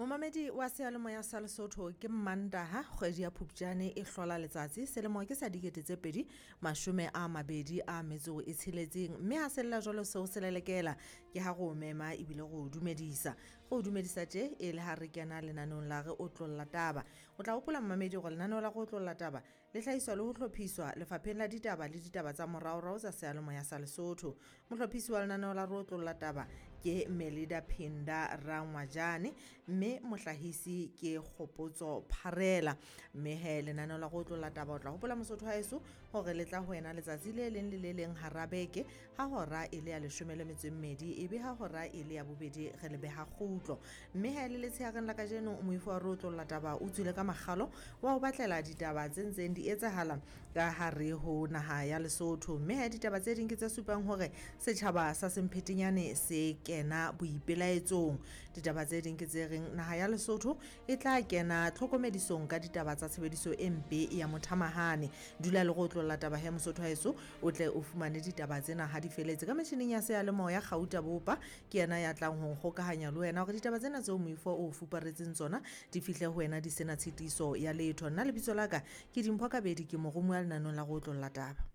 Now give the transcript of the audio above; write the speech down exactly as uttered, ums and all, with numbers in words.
Momamedi wa seyalemoya sa Lesotho, ke Mmantaha, kgwedi ya Phupjane e hlola letsatsi, selemo ke sa dikete tse pedi mashome a mabedi a metso e tsheletseng. Mme ha sella jwalo seo se lelekela ke ha re o mema ebile re o dumedisa. Re o dumedisa tje e le ha re kena lenaneong la Re Otlolla Taba. O tla hopola momamedi hore lenaneo la Re Otlolla Taba le hlahiswa le ho hlophiswa lefapheng la ditaba le ditaba tsa moraorao tsa seyalemoya sa Lesotho. Mohlophisi wa lenaneo la Re Otlolla Taba ke Melida Phinda Rangwajane, mme mohlahisi ke Kgopotso Pharela. Mme he lenaneo la Re Otlolla Taba o tla hopola Mosotho wa heso hore le tla ho wena letsatsi le leng le le leng hara beke ha hora e le ya leshome le metso e mmedi, ebe ha hora e le ya bobedi re le beha kgutlo. Mme ha e le letshehareng la kajeno moifo wa Re Otlolla Taba o tswile ka makgalo wa ho batlela ditaba tse ntseng di etsahala ka hare ho naha ya Lesotho. Mme ha ditaba tse ding ke tse supang hore setjhaba sa Semphetenyane se kena boipelaetsong. Ditaba tse ding ke tse reng naha ya Lesotho e tla kena tlhokomedisong ka ditaba tsa tshebediso e mpe ya mothamahane. Dula le Re Otlolla Taba he Mosotho haeso, o tle o fumane ditaba tsena ha di feletse. Ka metjhining ya seyalemoya Kgauta Bopa ke yena ya tlang ho nkgokahanya le wena hore ditaba tsena tseo moifo o fuparetseng tsona di fihle ho wena di sena tshitiso ya letho. Nna lebitso la ka ke Dimpho Kabedi, ke moromuwa lenaneng la Re Otlolla Taba.